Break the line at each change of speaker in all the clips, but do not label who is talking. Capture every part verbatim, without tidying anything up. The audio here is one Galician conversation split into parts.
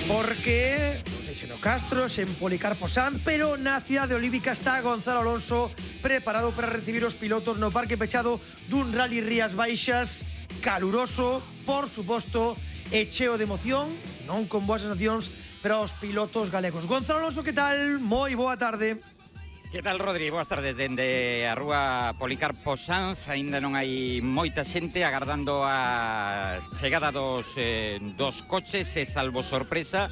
Porque non sei se no Castro, se en Policarpo Sanz, pero na cidade olímpica está Gonzalo Alonso preparado para recibir os pilotos no parque pechado dun Rally Rías Baixas caluroso, por suposto, e cheo de emoción, non con boas sensacións para os pilotos galegos. Gonzalo Alonso, que tal? Moi boa tarde.
Que tal, Rodri? Boas tardes dende a rúa Policarpo Sanz. Ainda non hai moita xente agardando a chegada dos, eh, dos coches, e salvo sorpresa,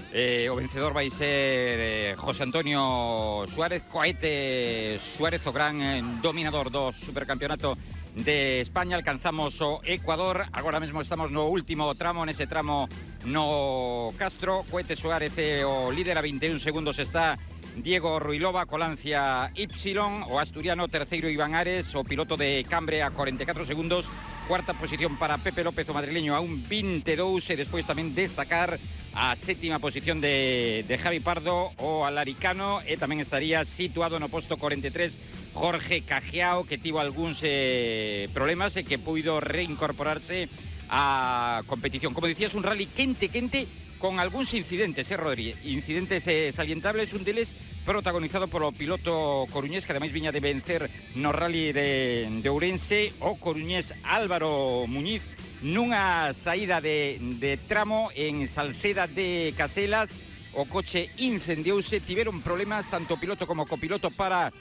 eh, o vencedor vai ser eh, José Antonio Suárez, Cohete Suárez, o gran eh, dominador do supercampeonato de España. Alcanzamos o Ecuador, agora mesmo estamos no último tramo, nese tramo no Castro. Cohete Suárez é o líder, a veintiún segundos está Diego Ruilova, Colancia Y, o asturiano terceiro Iván Ares, o piloto de Cambre a cuarenta y cuatro segundos, cuarta posición para Pepe López, o madrileño, a un veintidós, e despois tamén destacar a sétima posición de, de Javi Pardo, o alaricano, e tamén estaría situado no posto cuarenta y tres Jorge Cajiao, que tivo algúns eh, problemas e que puido reincorporarse á competición. Como dicías, un rally quente, quente, con algúns incidentes, eh, Rodri? Incidentes eh, salientables, un deles protagonizado polo piloto coruñés, que ademais viña de vencer no rally de, de Ourense, o coruñés Álvaro Muñiz, nunha saída de, de tramo en Salceda de Caselas. O coche incendiouse, tiveron problemas tanto piloto como copiloto para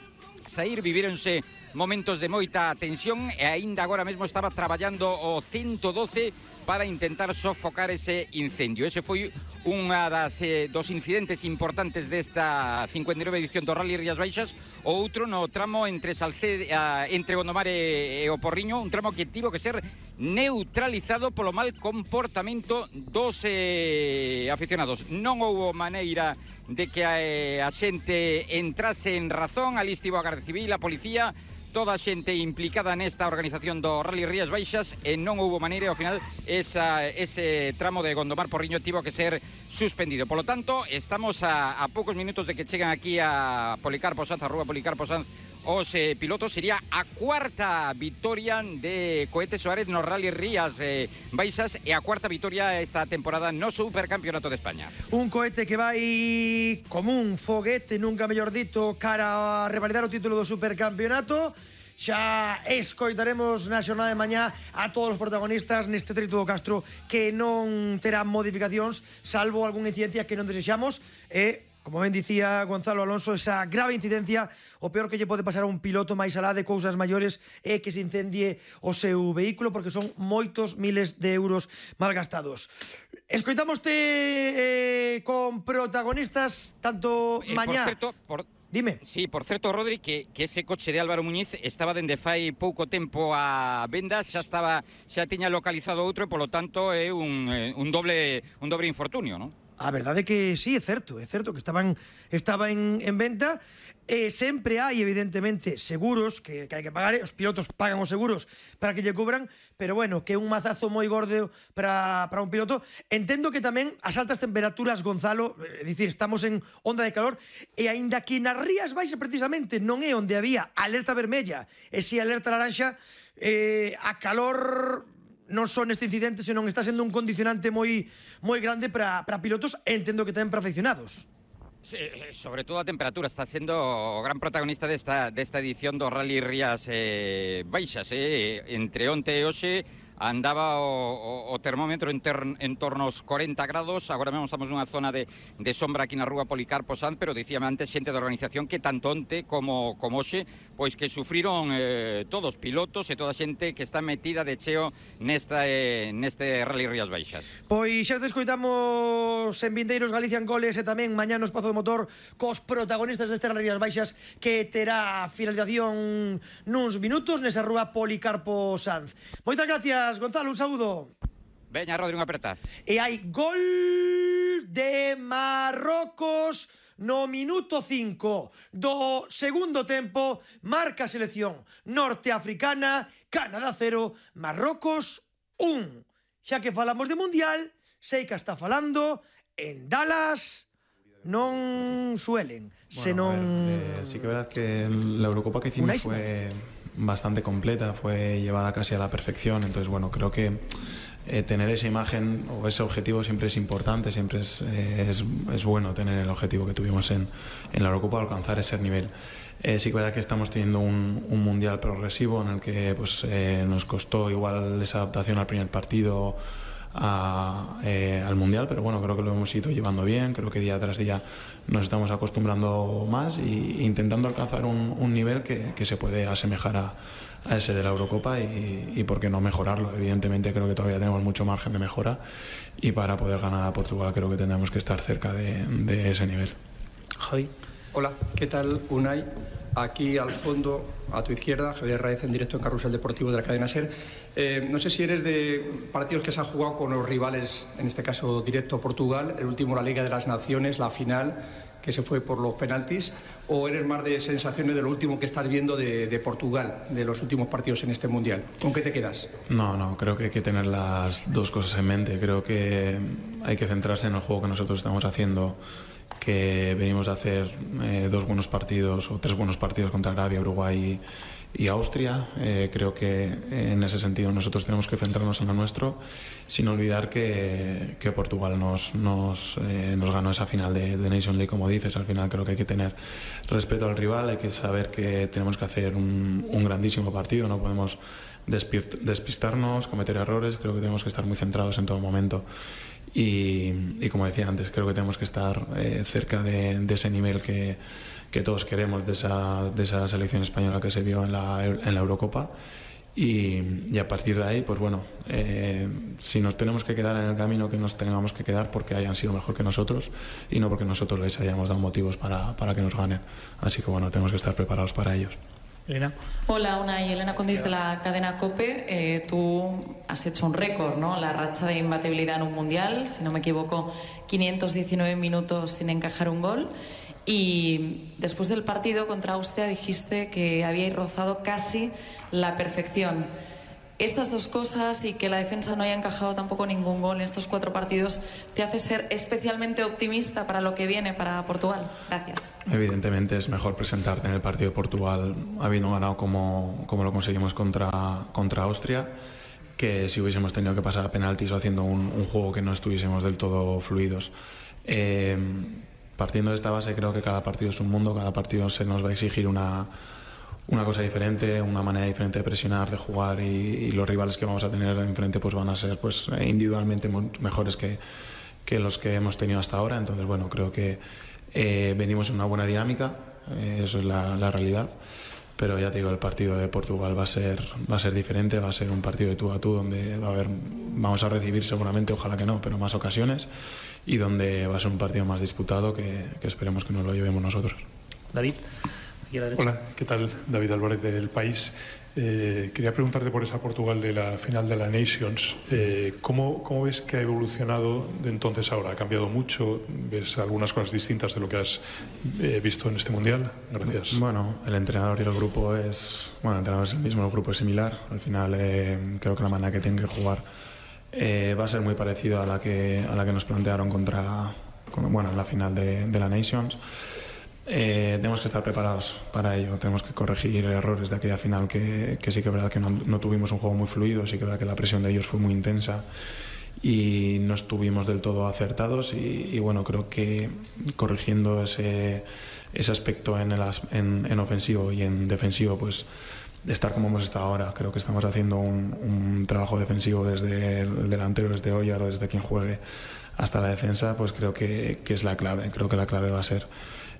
sair, vivíronse momentos de moita tensión, e aínda agora mesmo estaba traballando o ciento doce para intentar sofocar ese incendio. Ese foi unha das eh, dos incidentes importantes desta cincuenta y nueve edición do Rally Rías Baixas. O outro no tramo entre Salceda, entre Gondomar e, e o Porriño, un tramo que tivo que ser neutralizado polo mal comportamento dos eh, aficionados. Non houbo maneira de que a, eh, a xente entrase en razón. Ali estivo a Garda Civil, a policía, toda a xente implicada nesta organización do Rally Rías Baixas, e non houbo maneira, ao final esa, ese tramo de Gondomar Porriño tivo que ser suspendido. Por lo tanto, estamos a, a poucos minutos de que chegan aquí a Policarpo Sanz, a rúa Policarpo Sanz, os eh, pilotos. Sería a cuarta vitoria de Cohete Suárez no Rally Rías eh, Baixas, e a cuarta vitoria esta temporada no Supercampeonato de España.
Un Cohete que vai como un foguete, nunca mellor dito, cara a revalidar o título do Supercampeonato. Xa escoitaremos na xornada de mañá a todos os protagonistas neste trito do Castro, que non terá modificacións, salvo algunha incidencia que non desexamos. E, como ben dicía Gonzalo Alonso, esa grave incidencia, o peor que lle pode pasar a un piloto máis alá de cousas maiores é que se incendie o seu vehículo, porque son moitos miles de euros malgastados. Escoitamoste eh, con protagonistas tanto
eh,
mañá.
Por certo, por...
Dime.
Sí, por certo, Rodri, que, que ese coche de Álvaro Muñiz estaba dende fai pouco tempo a venda, xa estaba, xa tiña localizado outro, e polo tanto é un, un doble un doble infortunio, non?
A verdade é que sí, é certo, é certo que estaban estaba en, en venta, e sempre hai, evidentemente, seguros que, que hai que pagar, os pilotos pagan os seguros para que lle cubran, pero bueno, que é un mazazo moi gordo para, para un piloto. Entendo que tamén as altas temperaturas, Gonzalo, é dicir, estamos en onda de calor, e aínda que nas Rías Baixas precisamente non é onde había alerta vermella e si alerta laranxa, eh, a calor non son este incidente, senón está sendo un condicionante moi moi grande para para pilotos, e entendo que tamén para aficionados.
Sí, sobre todo a temperatura está sendo o gran protagonista desta, desta edición do Rally Rías eh, Baixas. Eh. Entre onte e hoxe andaba o, o, o termómetro en, ter, en torno aos cuarenta grados. Agora mesmo estamos nunha zona de, de sombra aquí na rúa Policarpo Sanz, pero dicíame antes xente da organización que tanto onte como, como hoxe, pois que sufriron eh, todos, pilotos e toda a xente que está metida de cheo nesta, eh, neste Rally Rías Baixas.
Pois xa te escoitamos en Vindeiros Galician Goles, e tamén mañá no Espazo do Motor cos protagonistas deste Rally Rías Baixas, que terá finalización nuns minutos nesa rúa Policarpo Sanz. Moitas gracias, Gonzalo, un saúdo.
Veña, Rodri, unha aperta.
E hai gol de Marrocos no minuto cinco do segundo tempo. Marca a selección norteafricana, Canadá cero, Marrocos un. Xa que falamos de Mundial, sei que está falando en Dallas, non suelen,
bueno,
senón...
Ver, eh, sí que es verdad que la Eurocopa que hicimos fue bastante completa, fue llevada casi a la perfección, entonces bueno, creo que eh, tener esa imagen o ese objetivo siempre es importante, siempre es, eh, es, es bueno tener el objetivo que tuvimos en, en la Eurocopa, alcanzar ese nivel. Eh, sí que es verdad que estamos teniendo un, un mundial progresivo en el que pues, eh, nos costó igual esa adaptación al primer partido a, eh, al mundial, pero bueno, creo que lo hemos ido llevando bien, creo que día tras día nos estamos acostumbrando más e intentando alcanzar un, un nivel que, que se puede asemejar a, a ese de la Eurocopa y, y por qué no mejorarlo. Evidentemente creo que todavía tenemos mucho margen de mejora y para poder ganar a Portugal creo que tendremos que estar cerca de, de ese nivel.
Javi.
Hola, ¿qué tal, Unai? Aquí al fondo, a tu izquierda, Javier Raez en directo en Carrusel Deportivo de la cadena SER. Eh, no sé si eres de partidos que se han jugado con los rivales, en este caso directo Portugal, el último la Liga de las Naciones, la final, que se fue por los penaltis, o eres más de sensaciones de lo último que estás viendo de, de Portugal, de los últimos partidos en este Mundial. ¿Con qué te quedas?
No, no, creo que hay que tener las dos cosas en mente. Creo que hay que centrarse en el juego que nosotros estamos haciendo, que venimos a hacer eh, dos buenos partidos o tres buenos partidos contra Arabia, Uruguay y, y Austria. Eh, creo que en ese sentido nosotros tenemos que centrarnos en lo nuestro, sin olvidar que, que Portugal nos, nos, eh, nos ganó esa final de, de Nation League, como dices. Al final creo que hay que tener respeto al rival, hay que saber que tenemos que hacer un, un grandísimo partido, no podemos despistarnos, cometer errores. Creo que tenemos que estar muy centrados en todo momento. Y, y como decía antes, creo que tenemos que estar eh, cerca de, de ese nivel que, que todos queremos, de esa, de esa selección española que se vio en la, en la Eurocopa. Y, y a partir de ahí, pues bueno, eh, si nos tenemos que quedar en el camino, que nos tengamos que quedar porque hayan sido mejor que nosotros y no porque nosotros les hayamos dado motivos para, para que nos ganen. Así que bueno, tenemos que estar preparados para ellos.
Elena.
Hola, Unai, Elena Condis de la cadena COPE. Eh, tú has hecho un récord, ¿no? La racha de imbatibilidad en un mundial, si no me equivoco, quinientos diecinueve minutos sin encajar un gol. Y después del partido contra Austria dijiste que habíais rozado casi la perfección. Estas dos cosas y que la defensa no haya encajado tampoco ningún gol en estos cuatro partidos, ¿te hace ser especialmente optimista para lo que viene para Portugal? Gracias.
Evidentemente es mejor presentarte en el partido de Portugal habiendo ganado como, como lo conseguimos contra, contra Austria, que si hubiésemos tenido que pasar a penaltis o haciendo un, un juego que no estuviésemos del todo fluidos. Eh, partiendo de esta base, creo que cada partido es un mundo, cada partido se nos va a exigir una... una cosa diferente, una manera diferente de presionar, de jugar y, y los rivales que vamos a tener enfrente pues van a ser pues individualmente mejores que, que los que hemos tenido hasta ahora. Entonces bueno, creo que eh, venimos en una buena dinámica, eh, eso es la, la realidad, pero ya te digo, el partido de Portugal va a ser va a ser diferente, va a ser un partido de tú a tú donde va a haber, vamos a recibir seguramente, ojalá que no, pero más ocasiones, y donde va a ser un partido más disputado que, que esperemos que nos lo llevemos nosotros.
David.
Hola, ¿qué tal? David Álvarez del País. Eh, quería preguntarte por esa Portugal de la final de la Nations. Eh, ¿cómo, ¿Cómo ves que ha evolucionado de entonces a ahora? ¿Ha cambiado mucho? ¿Ves algunas cosas distintas de lo que has eh, visto en este Mundial? Gracias.
Bueno, el entrenador y el grupo es... Bueno, el entrenador es el mismo, el grupo es similar. Al final eh, creo que la manera que tienen que jugar eh, va a ser muy parecida a la que, a la que nos plantearon contra... Con, bueno, en la final de, de la Nations. Eh, tenemos que estar preparados para ello, tenemos que corregir errores de aquella final que, que sí que es verdad que no, no tuvimos un juego muy fluido, sí que es verdad que la presión de ellos fue muy intensa y no estuvimos del todo acertados y, y bueno, creo que corrigiendo ese, ese aspecto en, el, en, en ofensivo y en defensivo, pues de estar como hemos estado ahora, creo que estamos haciendo un, un trabajo defensivo desde el delantero, desde Oyar o desde quien juegue hasta la defensa, pues creo que, que es la clave, creo que la clave va a ser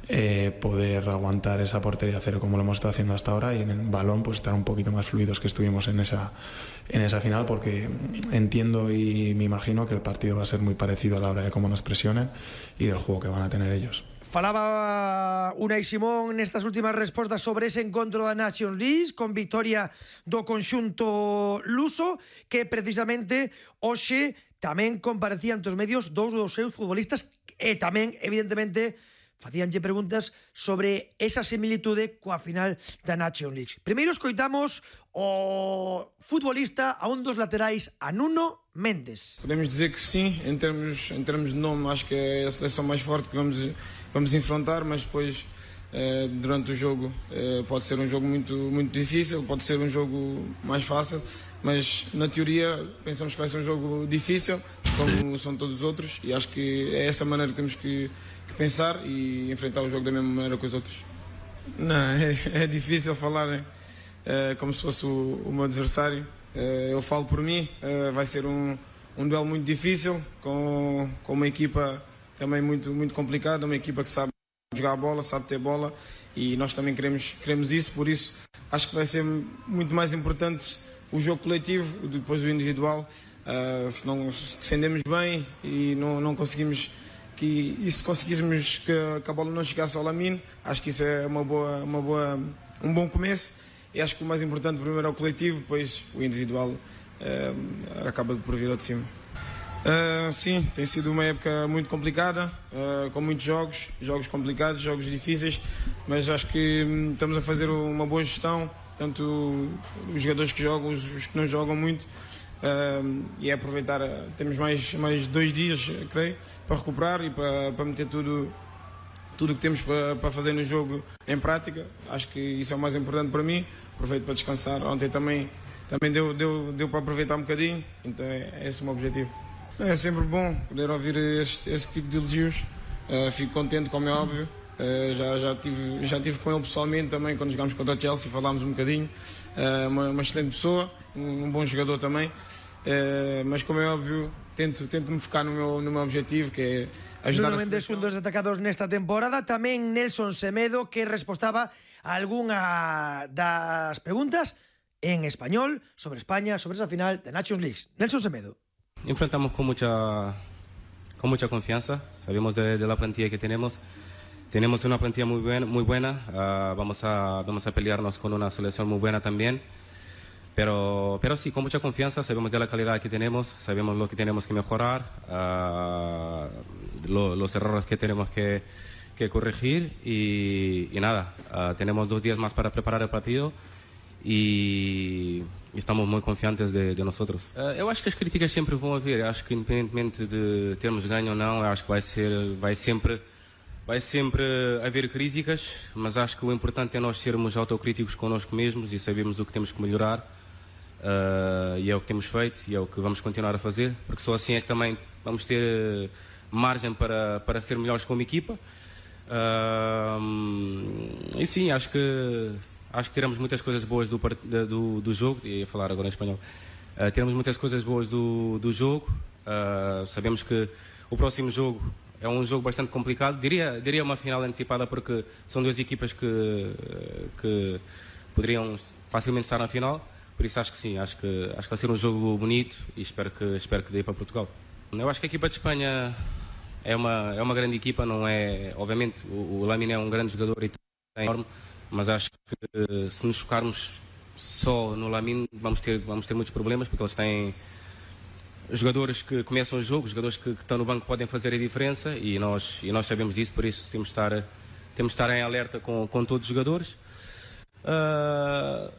Eh, poder aguantar esa portería cero como lo hemos estado haciendo hasta ahora y en el balón pues estar un poquito más fluidos que estuvimos en esa, en esa final, porque entiendo y me imagino que el partido va a ser muy parecido a la hora de cómo nos presionen y del juego que van a tener ellos.
Falaba Unai Simón nestas últimas respostas sobre ese encontro da Nations League con victoria do conxunto luso, que precisamente hoxe tamén comparecían ante os medios dous dos seus futbolistas e tamén, evidentemente, facíanlle preguntas sobre esa similitude coa final da Nations League. Primeiro escoitamos o futbolista a un dos laterais, a Nuno Mendes.
Podemos dizer que sim, em termos, em termos de nome, acho que é a seleção mais forte que vamos, vamos enfrentar, mas depois eh, durante o jogo eh, pode ser um jogo muito, muito difícil, pode ser um jogo mais fácil. mas na teoria pensamos que vai ser um jogo difícil, como são todos os outros, e acho que é essa maneira que temos que, que pensar e enfrentar o jogo da mesma maneira que os outros. Não, é, é difícil falar é, como se fosse o, o meu adversário. É, eu falo por mim, é, vai ser um, um duelo muito difícil, com, com uma equipa também muito, muito complicada, uma equipa que sabe jogar a bola, sabe ter bola, e nós também queremos, queremos isso, por isso acho que vai ser muito mais importante o jogo coletivo, depois o individual. Uh, se não se defendemos bem e não, não conseguimos que, e se conseguíssemos que, que a bola não chegasse ao Lamine, acho que isso é uma boa, uma boa, um bom começo, e acho que o mais importante primeiro é o coletivo, depois o individual uh, acaba por vir ao de cima. Uh, sim, tem sido uma época muito complicada, uh, com muitos jogos, jogos complicados, jogos difíceis, mas acho que um, estamos a fazer uma boa gestão, tanto os jogadores que jogam, os, os que não jogam muito, uh, e é aproveitar, uh, temos mais, mais dois dias, creio, para recuperar e para, para meter tudo tudo o que temos para, para fazer no jogo em prática. Acho que isso é o mais importante para mim, aproveito para descansar, ontem também, também deu, deu, deu para aproveitar um bocadinho, então é, é esse o meu objetivo. É sempre bom poder ouvir esse, esse tipo de elogios, uh, fico contente, como é óbvio, uh, já, já, tive, já tive com ele pessoalmente também, quando jogámos contra o Chelsea, falámos um bocadinho, uh, uma, uma excelente pessoa, um, um bom jogador também, uh, mas como é óbvio, tento, tento me focar no meu, no meu objetivo, que é ajudar
Nuno
a
Mendes, un dos destacados nesta temporada, tamén Nelson Semedo, que respostaba a algunha das preguntas en español sobre España, sobre esa final de Nations League. Nelson Semedo.
Enfrentamos con mucha, con mucha confianza, sabemos de, de la plantilla que tenemos, tenemos una plantilla muy buena, muy buena. Uh, vamos, a, vamos a pelearnos con una selección muy buena también, pero, pero sí, con mucha confianza, sabemos de la calidad que tenemos, sabemos lo que tenemos que mejorar, uh, lo, los errores que tenemos que, que corregir y, y nada, uh, tenemos dos días más para preparar el partido e estamos muito confiantes de, de nós. Uh, eu acho que as críticas sempre vão haver. Eu acho que independentemente de termos ganho ou não, eu acho que vai ser, vai sempre, vai sempre haver críticas. Mas acho que o importante é nós sermos autocríticos connosco mesmos e sabermos o que temos que melhorar. Uh, e é o que temos feito e é o que vamos continuar a fazer, porque só assim é que também vamos ter margem para para ser melhores como equipa. Uh, e sim, acho que Acho que teremos muitas coisas boas do, do, do jogo, ia falar agora em espanhol, uh, teremos muitas coisas boas do, do jogo, uh, sabemos que o próximo jogo é um jogo bastante complicado, diria, diria uma final antecipada porque são duas equipas que, que poderiam facilmente estar na final, por isso acho que sim, acho que, acho que vai ser um jogo bonito e espero que, espero que dê para Portugal. Eu acho que a equipa de Espanha é uma, é uma grande equipa, não é, obviamente o, o Lamine é um grande jogador e é enorme, mas acho que se nos focarmos só no Lamine vamos ter, vamos ter muitos problemas, porque eles têm jogadores que começam o jogo, jogadores que, que estão no banco podem fazer a diferença e nós, e nós sabemos disso, por isso temos de estar, temos de estar em alerta com, com todos os jogadores. Uh,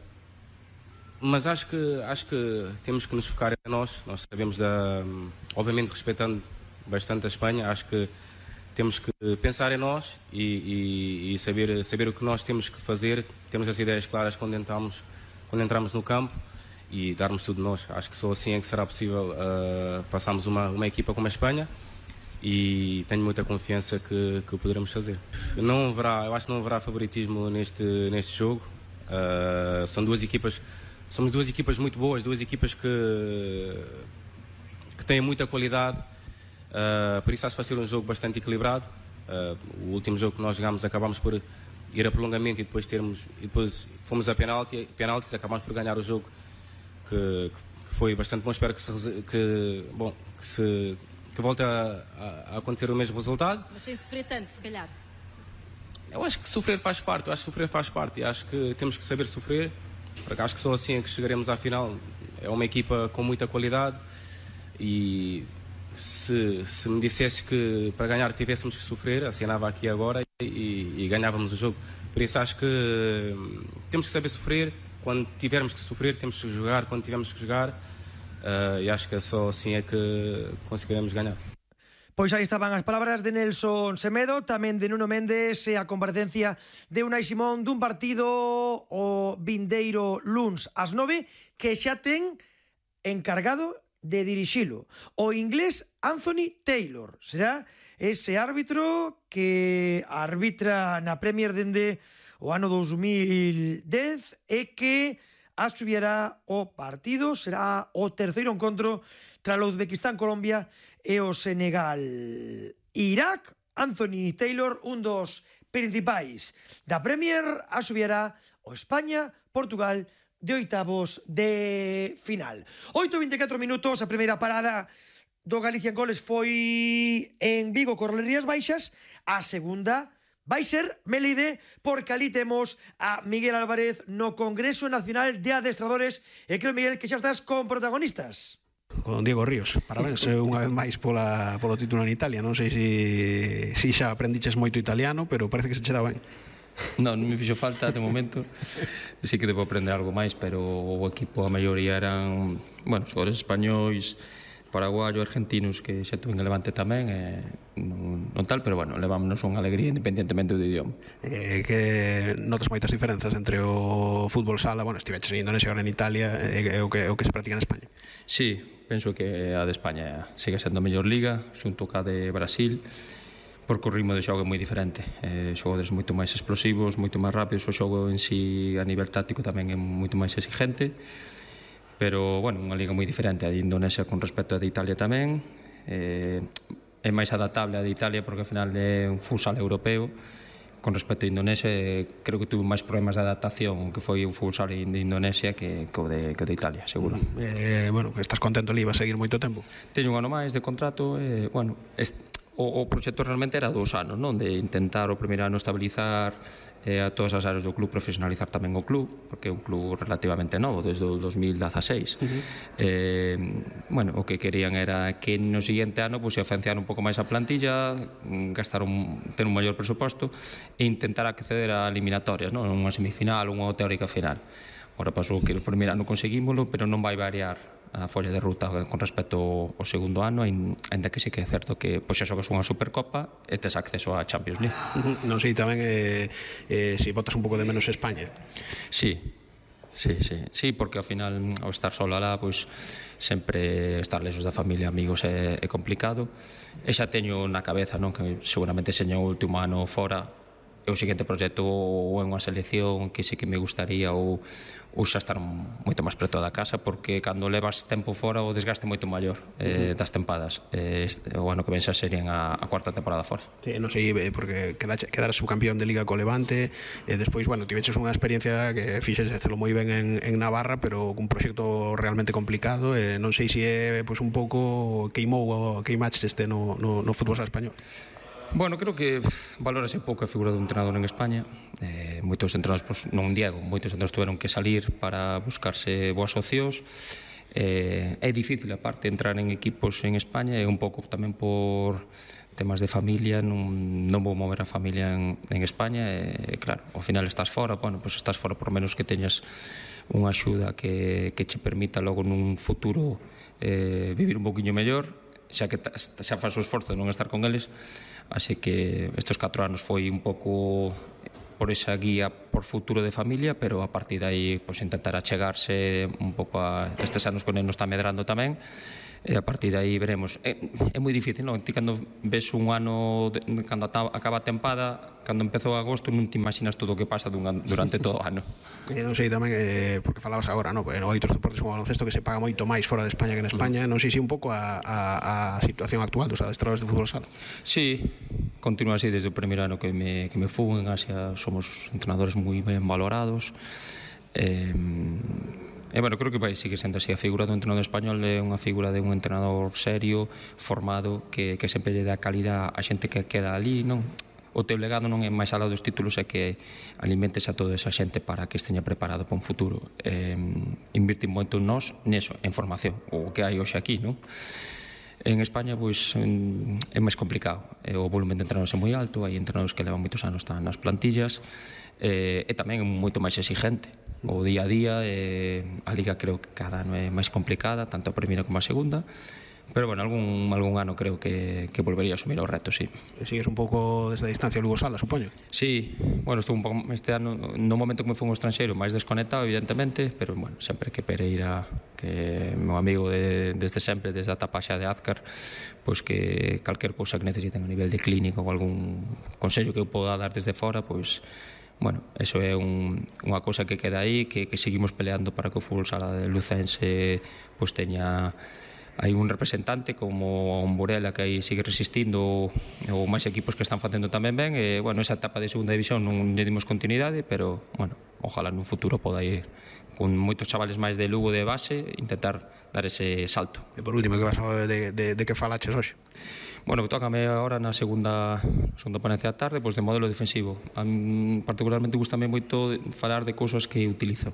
mas acho que, acho que temos que nos focar em nós, nós sabemos, da, obviamente respeitando bastante a Espanha, acho que temos que pensar em nós e, e, e saber, saber o que nós temos que fazer, termos as ideias claras quando entramos, quando entramos no campo e darmos tudo de nós. Acho que só assim é que será possível uh, passarmos uma, uma equipa como a Espanha e tenho muita confiança que, que o poderemos fazer. Não haverá, eu acho que não haverá favoritismo neste, neste jogo. Uh, são duas equipas, somos duas equipas muito boas, duas equipas que, que têm muita qualidade. Uh, por isso acho que vai ser um jogo bastante equilibrado. Uh, o último jogo que nós jogámos acabámos por ir a prolongamento e depois termos e depois fomos a penalti, penaltis, acabámos por ganhar o jogo, que, que foi bastante bom. Espero que se, que, bom, que, se, que volte a, a acontecer o mesmo resultado.
Mas sem sofrer tanto, se calhar.
Eu acho que sofrer faz parte, eu acho que sofrer faz parte e acho que temos que saber sofrer, porque acho que só assim é que chegaremos à final. É uma equipa com muita qualidade e Se, se me dissesse que para ganhar tivéssemos que sofrer, assinava aqui agora e, e ganhávamos o jogo. Por isso acho que temos que saber sofrer. Quando tivermos que sofrer, temos que jogar quando tivermos que jogar. Uh, e acho que só assim é que conseguiremos ganhar.
Pois aí estaban as palabras de Nelson Semedo, tamén de Nuno Mendes e a comparecencia de Unai Simón dun partido o vindeiro luns ás nove que xa ten encargado de dirixilo. O inglés Anthony Taylor será ese árbitro que arbitra na Premier dende o ano dos mil dez e que asubiará o partido. Será o terceiro encontro tras o Uzbekistán, Colombia e o Senegal, Irak. Anthony Taylor, un dos principais da Premier, asubiará o España, Portugal de oitavos de final. oito e vinte e catro minutos, a primeira parada do Galicia en goles foi en Vigo, co Rías Baixas. A segunda vai ser Melide, porque ali temos a Miguel Álvarez no Congreso Nacional de Adestradores. E creo, Miguel, que xa estás con protagonistas.
Con Diego Ríos, parabéns unha vez máis pola, polo título en Italia. Non sei se si, si xa aprendiches moito italiano, pero parece que se che dá ben.
Non, non me fixo falta de momento. Sí que debo aprender algo máis, pero o equipo a maioría eran, bueno, xogadores españois, paraguayos, argentinos, que xa tuve en Levante tamén, e non, non tal, pero bueno, levámonos unha alegría independentemente do idioma.
Eh, que notas moitas diferenzas entre o fútbol sala, bueno, estiveches en Indonesia, agora en Italia, e, e o, que, o que se practica en España?
Sí, penso que a de España sigue sendo a mellor liga, xunto ca de Brasil, porque o ritmo de xogo é moi diferente. Eh, xogadores moito máis explosivos, moito máis rápidos, o xogo en si a nivel táctico tamén é moito máis exigente, pero, bueno, unha liga moi diferente a de Indonesia con respecto a de Italia tamén. Eh, é máis adaptable a de Italia porque, ao final, é un futsal europeo. Con respecto a Indonesia, eh, creo que tuve máis problemas de adaptación que foi un futsal de Indonesia que, que, o de, que o de Italia, seguro.
Eh, bueno, estás contento ali, vas a seguir moito tempo?
Teño un ano máis de contrato, e, eh, bueno, este, O, o proxecto realmente era dous anos, non? De intentar o primeiro ano estabilizar eh, a todas as áreas do club, profesionalizar tamén o club, porque é un club relativamente novo, desde o dos mil dezaseis. Uh-huh. eh, bueno, o que querían era que no seguinte ano pues, afanciar un pouco máis a plantilla, gastar un, ter un maior presuposto e intentar acceder a eliminatorias, non? Unha semifinal, unha teórica final. Ora pasou que o primeiro ano conseguímolo, pero non vai variar a folla de ruta con respecto ao segundo ano, ainda que sí que é certo que pois xa xogas unha Supercopa e tes acceso á Champions League.
Uh-huh. Non sei tamén eh, eh, se botas un pouco de menos España.
Sí, sí, sí, sí, porque ao final ao estar solo alá, pois sempre estar lexos da familia, amigos é, é complicado. E xa teño na cabeza, non, que seguramente seña o último ano fora, e o seguinte proxecto ou é unha selección que sí que me gustaría, ou, ou xa estar moito máis preto da casa, porque cando levas tempo fora o desgaste moito maior eh, das tempadas. Eh, o ano que ven xa serían a, a cuarta temporada fora.
Sí, non sei, porque quedaras subcampeón de Liga co Levante, e despois, bueno, tiveches unha experiencia que fixes hacelo moi ben en, en Navarra, pero cun proxecto realmente complicado, e non sei se é pues, un pouco queimou, queimaches este no, no, no fútbol español.
Bueno, creo que valórase pouco a figura do entrenador en España. Eh, moitos entrenadores, pues, non Diego, moitos entrenadores tuveron que salir para buscarse boas socios. Eh, é difícil, aparte, entrar en equipos en España, e un pouco tamén por temas de familia, non, non vou mover a familia en, en España, e claro, ao final estás fora, bueno, pues estás fora por menos que teñas unha axuda que, que che permita logo nun futuro eh, vivir un poquinho mellor, xa que xa faz o esforzo de non estar con eles. Así que estes catro anos foi un pouco por esa guía por futuro de familia, pero a partir de aí pues, intentar achegarse un pouco a estes anos que nos está medrando tamén, e a partir de aí veremos. É, é moi difícil, non? Ti cando ves un ano, de, cando acaba a tempada, cando empezou agosto, non te imaginas todo o que pasa dunha, durante todo o ano.
E non sei tamén, eh, porque falabas agora, no? En outros deportes como o baloncesto que se paga moito máis fora de España que en España, non sei se un pouco a, a, a situación actual dos adestradores de fútbol sala.
Sí, continúa así desde o primeiro ano que me, que me fui en Asia, somos entrenadores moi ben valorados. Eh, E, bueno, creo que vai seguir sendo así. A figura do entrenador español é unha figura de un entrenador serio, formado, que, que sempre lle dá calidad a xente que queda ali, non? O teu legado non é máis alá dos títulos, é que alimentes a toda esa xente para que esteña preparado para un futuro. Eh, invirtir moito en nós, neso, en formación, o que hai hoxe aquí, non? En España, pois, é máis complicado. O volumen de entrenadores é moi alto, hai entrenadores que levan moitos anos están nas plantillas, e, e tamén é moito máis exigente. O día a día, eh, a Liga creo que cada ano é máis complicada, tanto a primeira como a segunda, pero bueno, algún, algún ano creo que, que volvería a asumir o reto, sí.
Sigues un pouco desde a distancia Lugo Sala, supoño?
Sí, bueno, estou un pouco este ano no momento que me fui un estranxeiro máis desconectado, evidentemente, pero bueno, sempre que Pereira, que é meu amigo de, desde sempre, desde a etapa xa de Azcar, pois que calquer cousa que necesiten a nivel de clínico ou algún consello que eu poda dar desde fora, pois bueno, eso é un, unha cousa que queda aí, que, que seguimos peleando para que o fútbol sala de Lucense pois teña hai un representante como un Burela que aí sigue resistindo, ou máis equipos que están facendo tamén ben, e bueno, esa etapa de segunda división non lle dimos continuidade, pero bueno, ojalá nun futuro poda ir con moitos chavales máis de Lugo de base intentar dar ese salto.
E por último, que vas a de, de, de que falaches hoxe?
Bueno, tócame agora na segunda segunda ponencia da tarde, pois de modelo defensivo. A mí particularmente gustame moito falar de cousas que utilizo,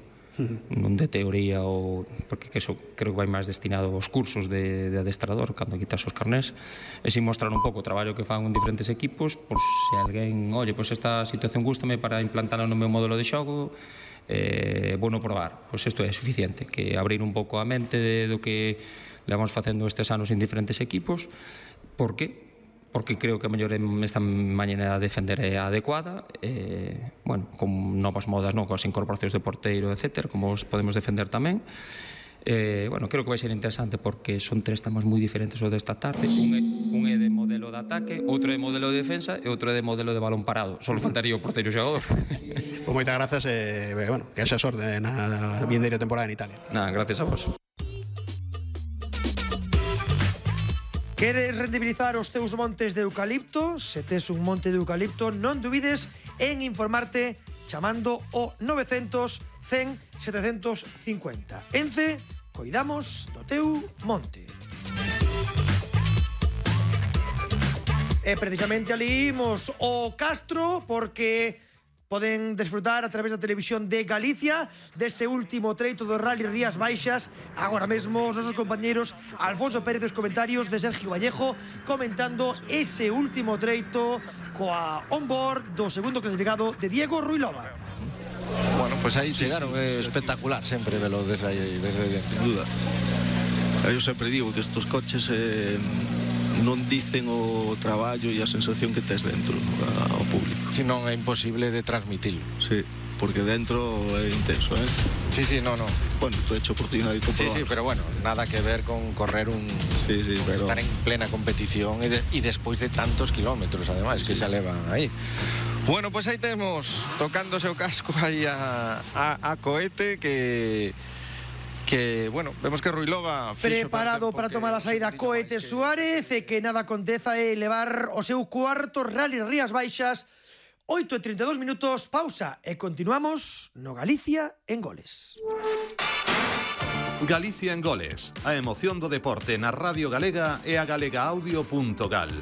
non de teoría, ou porque que eso creo que vai máis destinado aos cursos de, de adestrador cando quitas os carnés, e si mostrar un pouco o traballo que fan en diferentes equipos, por se alguén, oye, pois esta situación gústame para implantala no meu modelo de xogo, eh, bueno probar, pois isto é suficiente, que abrir un pouco a mente de, do que levamos facendo estes anos en diferentes equipos. Por que? Porque creo que a mellor esta mañana de defender é adecuada, eh, bueno, con novas modas, non, con as incorporacións de porteiro, etcétera, como os podemos defender tamén. Eh, bueno, creo que vai ser interesante porque son tres temas moi diferentes o desta tarde. Un é, un é de modelo de ataque, outro é de modelo de defensa e outro é de modelo de balón parado. Só faltaría o porteiro xogador.
Pois moitas grazas e, eh, bueno, que haxa sorte na vindeira temporada en Italia.
Nada, gracias a vos.
Queres rendibilizar os teus montes de eucalipto? Se tes un monte de eucalipto, non dubides en informarte chamando o novecientos cen setecientos cincuenta. Ence, coidamos do teu monte. E precisamente ali imos o Castro porque poden desfrutar a través da televisión de Galicia dese último treito do Rally Rías Baixas. Agora mesmo os nosos compañeros Alfonso Pérez dos comentarios de Sergio Vallejo comentando ese último treito coa onboard do segundo clasificado de Diego Ruilova.
Bueno, pues aí chegaron, é espectacular sempre velo desde aí, desde dentro. Sin duda. Eu sempre digo que estos coches eh, non dicen o traballo e a sensación que tes dentro ao público.
Si non é imposible de transmitirlo.
Sí, porque dentro é intenso, eh?
Sí, sí, no, no.
Bueno, tú he hecho oportunidad de comprobar.
Sí, sí, pero bueno, nada que ver con correr un...
Sí, sí, pero...
Estar en plena competición e, de, y despois de tantos kilómetros, además, que sí. Se elevan aí. Bueno, pues aí temos tocándose o casco aí a, a, a Coete que... que, bueno, vemos que Ruilova
preparado para, para tomar a saída Coete que... Suárez e que nada aconteza é levar o seu cuarto Rally Rías Baixas. Oito e trinta e dous minutos, pausa e continuamos no Galicia en Goles.
Galicia en Goles, a emoción do deporte na Radio Galega e a galegaaudio punto gal.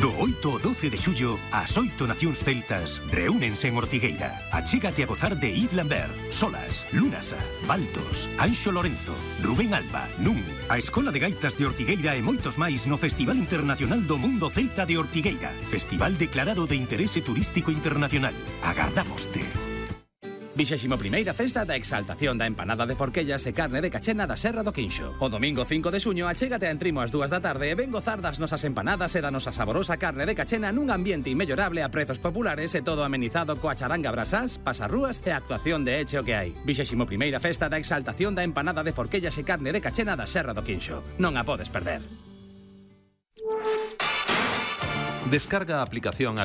Do oito ao doce de xullo, as oito nacións celtas reúnense en Ortigueira. Achégate a gozar de Yves Lambert, Solas, Lunasa, Baltos, Anxo Lorenzo, Rubén Alba, Nun, a Escola de Gaitas de Ortigueira e moitos máis no Festival Internacional do Mundo Celta de Ortigueira. Festival declarado de interese turístico internacional. Agardámoste.
Vixésimo primeira festa da exaltación da empanada de forquellas e carne de cachena da Serra do Quinxo. O domingo cinco de xuño achégate a Entrimo ás dúas da tarde e ven gozar das nosas empanadas e da nosa saborosa carne de cachena nun ambiente inmellorable a prezos populares e todo amenizado coa charanga brasás, pasarrúas e a actuación de Eche o que hai. Vixésimo primeira festa da exaltación da empanada de forquellas e carne de cachena da Serra do Quinxo. Non a podes perder.
Descarga a aplicación a